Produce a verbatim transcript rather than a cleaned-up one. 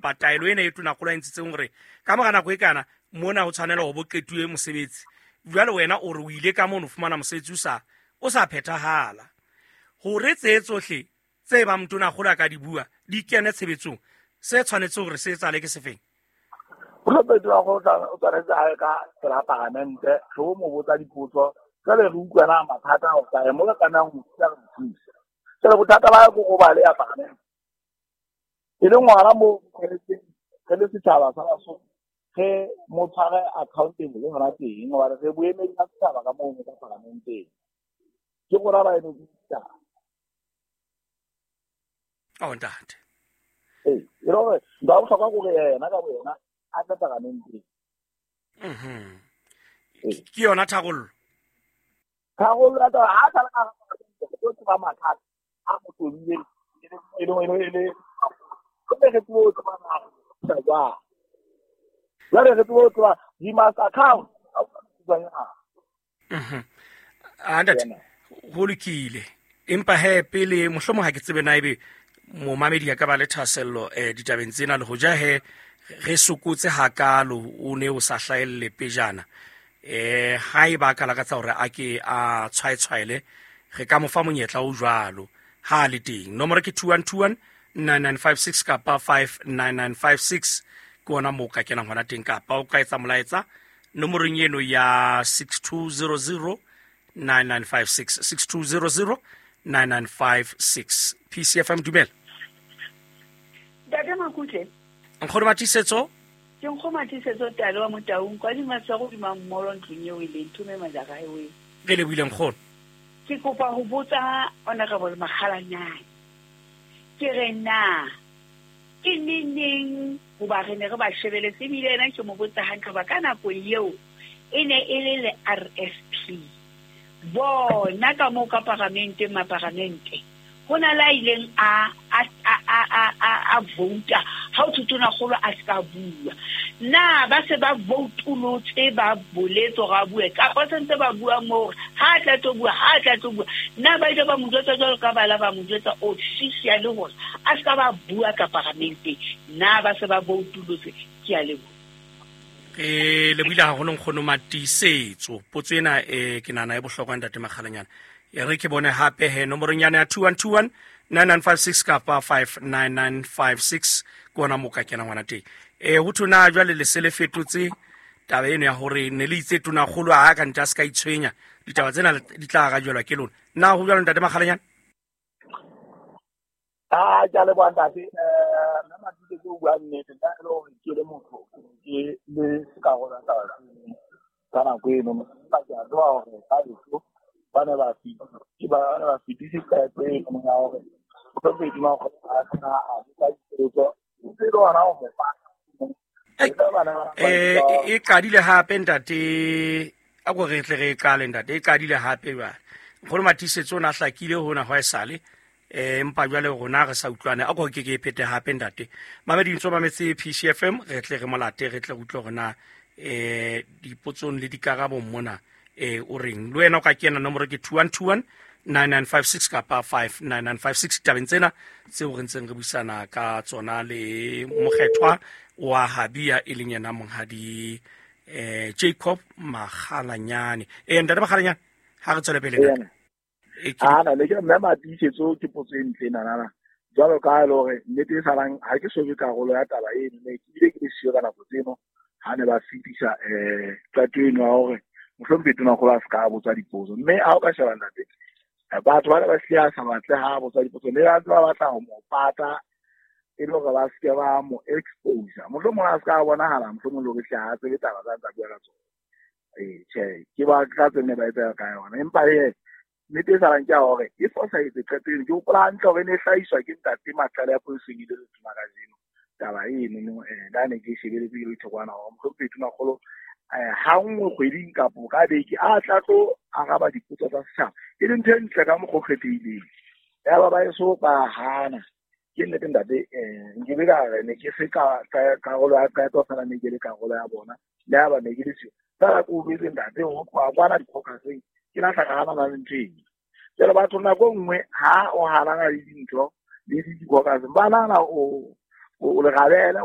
kapa taelo ena e tonakgolo a ntshitseng hore ka mora nako e kana mona ho tshwanela ho bo qetuwe mosebetsi. Jwale wena o re o ile ka mono fumana mosebetsi o sa o sa phethahala. Hore tse tsohle tse bang tonakgolo a ka di bua di kene tshebetsong, se tshwanetse hore se etsahale ke sefeng? Mohlomphehi Tonakgolo o tshwanetse a ye ka pela paramente, re o mo botsa dipotso, jwale re utlwa na mathata a kae mo re tlamehang ho thusa re mo thuse. Jwale bothata ba ko go ba le ya paramente. E leng hona moo tshwanetseng re le setjhaba sa Basotho re mo tshware accountable le hona teng, hobane re boemedi ba setjhaba ka moo ka paramenteng. Ke rona ba emetseng setjhaba. Oh, ntate. Ee, e le hore ntho ya bohlokwa ke hore yena ka boyena a tle paramenteng. Mhm. Ee. Ke yona tharollo. Tharollo ya taba, ha a sala ka hara paramente, re tlo tseba mathata a mo tobileng, e le, e le, e le, e le, re tsebe ho tseba na jwang. Jwale re tsebe ho tseba, he must account. Mhm. Ah, ntate, ho lokile. Empa he pele mohlomong ha ke tsebe na ebe momamedi a ka ba le thahasello eh ditabeng tsena, le hoja he re sokotse hakalo o ne o sa hlahelle pejana. Eh ha e ba ka lakatsa hore a ke a tshwaetshwaele, re ka mo fa monyetla o jwalo ha le teng. Nomoro ke two one two one nine nine five six kapa five nine nine five six ke ona moo ka kenang hona teng, kapa o ka etsa molaetsa nomorong eno ya six two zero zero nine nine five six, six two zero zero nine nine five six. P C F M, dumela. Ntate Makutle. Nkgono Matiisetso. Ke Nkgono Matiisetso Tale wa Motaung, kwa Dimatshwaro hodima mmolo ntlong eo e leng Thume Majaka Highway. Re lebohile nkgono. Ke kopa ho botsa Honorable Makgalanyane. Ke re na ke neneng hoba re ne re ba shebeletse, ebile yena ke mo botsa hantle hoba ka nako eo e ne e le le R S P. Bona ka moo ka paramenteng, maparamente ho na le a ileng a, a, a, a, a, a, a vouta ha ho thwe tonakgolo a se ka bua. Na ba se ba voutolotse, ba boletse hore a bue, kapa se ntse ba bua moo hore ha a tla tlo bua, ha a tla tlo bua. Na ba ile ba mo jwetsa jwalo ka bala ba mo jwetsa officially hore a se ka ba bua ka paramenteng. Na ba se ba voutolotse? Ke a leboha. Re lebohile haholo Nkgono Matiisetso. Potso ena, eh, ke nahana e bohlokwa ntate Makgalanyane. E re ke bone hape he nomorong yana ya two one two one nine nine five six kapa five nine nine five six ke ona moo ka kenang hona teng. Eh, ho thwe na jwale le se le fetotse taba eno ya hore ne le itse tonakgolo ha ka ntle a se ka itshwenya, ditaba tsena di tla arajwelwa ke lona. Na ho jwalo ntate Makgalanyane? Ah, ke a leboha ntate. Eh, nna Matiisetso o bua nnete, nna e le hore ke le motho, ke le sekarolo sa taba tseno ka nako eno. Empa ke a tseba hore ka heso ba ne ba fi-, ke ba ne ba fetise qeto eno ya hore Mohlomphehi Tonakgolo a sena a botsa dipotso, ntse e le hona ho mo fa. Ei, eh, e qadile hape ntate, a ko re tle re qale ntate, e qadile hape jwale. Nkgono Matiisetso o na hlakile hona hwa esale, eh, empa jwale rona re sa utlwane, a ko ke ke e phete hape ntate. Mamedi ntso mametse P C F M, re tle re molate, re tle re utlwe hore na, eh, dipotsong le dikarabong mona, eh, o reng. Le wena o ka kena nomoro ke two one two one nine nine five six kapa five nine nine five six. Tabeng tsena tseo re ntseng re buisana ka tsona le mokgethwa wa Habia e leng yena monghadi, eh, Jacob Makgalanyane. Eh, ntate Makgalanyane, ha re tswele pele ntate. Ena. E ke Ah, na, le ke mme Matiisetso ke potso e ntle ena, nana. Jwalo ka ha e le hore nnete e salang, ha ke so be karolo ya taba eno, ne ke bile ke le siyo ka nako tseno ha ne ba fetisa, eh, qeto eno ya hore Mohlomphehi Tonakgolo a se ka botsa dipotso. Mme ha o ka sheba ntate, eh, batho ba ne ba hlile a sa batle ha botsa dipotso, ne ba ntse ba batla ho mo pata e le hore ba se ke ba mo expose. Mohlomong a se ka bonahala, mohlomong le hore hle ha tsebe taba tsa ntsa bua ka tsona. Eh, tjhe, ke ba ka tse ne ba etsa ka yona. Empa he, nnete e salang ke ya hore e fosahetse qeto eno. Ke hopola hantle hore e ne e hlahiswa ke ntate Maqale ya Poisong e le letona kajeno. Taba eno no, eh, la ne ke e shebeletse ke le thokwana hore Mohlomphehi Tonakgolo, eh, ha nngwe kgweding kapo ka beke a tla tlo araba dipotso tsa setjhaba, e leng ntho e ntle ka mokgwa o kgethehileng. Yaba ba eso ba hana. Ke nnete ntate, eh, nkebe ka re ne ke se ka, ka karolo ya qeto fela, ne ke le karolo ya bona. Le ha ba ne ke le siyo. Fela ke utlwetse ntate ho tloha kwana dikgokaseng, ke lahla ka hanana le ntho eno. Jwale batho nako e nngwe ha o hanana le dintho le dikgokaseng, ba nahana o, o lerabele, wa